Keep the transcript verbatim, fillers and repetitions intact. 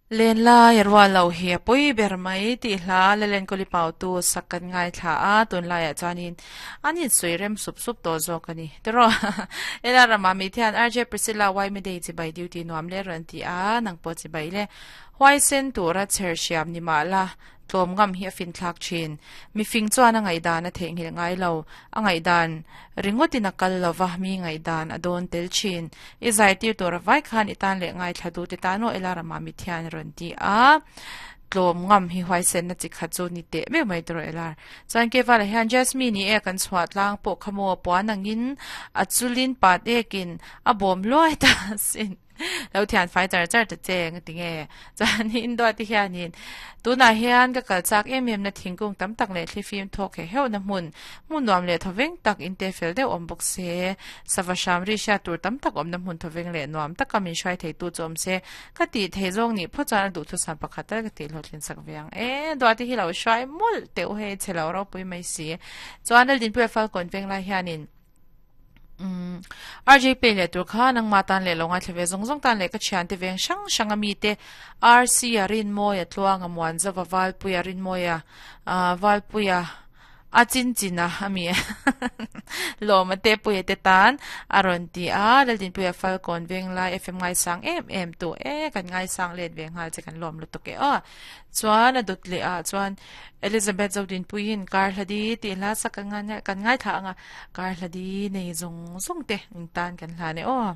Len lai rual lo hi a pui ber mai tih hla Lalen Kawli Pau tu sak kan ngaithla a, tunlaiah chuanin an insui rem sup sup tawh zawk a ni. Tiraw Ela rama mi thian R J Priscilla Y Midday chibai duty nuam le rawn ti a, nang pawh chibai le huaisen tura chher hriam ni mah la tlawm ngam hi a finthlak thin. Mifing chuan a ngaihdan a theihnghilh ngai lo, a ngaihdan ringawtin a kal lova mi ngaihdan a dawn tel thin. I zai tir tur a vai khan i tan leh ngaithla duh te tan aw Ela rama mi thian rawn ti a, tlawm ngam hi huaisen na chi khat chu ni teh meuh mai tawh Ela. Chuan Kevala hian Jasmine i e kan chhuah tlang pawh kha maw puan angin a chulin pat ekin a bawm luai ta sin. Lo thian fai char char ta che nga ti nge chuanin dawt te hianin tunah hian ka kal chak em em na thingkung tam tak leh thlifim thawk heh heuh na hmun hmun nuam leh thawveng tak in te fel deuh awm bawk se sava hram ri hriat tur tam tak awm na hmun thawveng leh nuam taka min hruai thei tu chu awm se ka tih thei zawng nih phawt chuan a duhthusam pakhat tal ka tih hlawhtlin sak ve ang e dawt te hi lo hruai mawlh teuh hei chhe lo ropui mai si chuan Laldinpuia Falkawn veng lai hianin Umm R J pay leh tur kha nangmah tan leh lo ngaithla ve zawng zawng tan leh ka thiante veng hrang hrang a mite R C a Rinmawia Tluanga Muanzova Valpuia Rinmawia ah Valpuia a chin chin a a mi lawma te puia te tan a rawn ti a Laldinpuia Falkawn Venglai F M ngaisang em em tu e kan ngaisang let ve nghal che kan lawm lutuk e aw chuan a dawt leh ah chuan Elizabeth Zodinpuiin kar hladi tih hla sak kan ngai kan ngaithla ang a, kar hladi nei zawng zawng te in tan kan hlan e aw.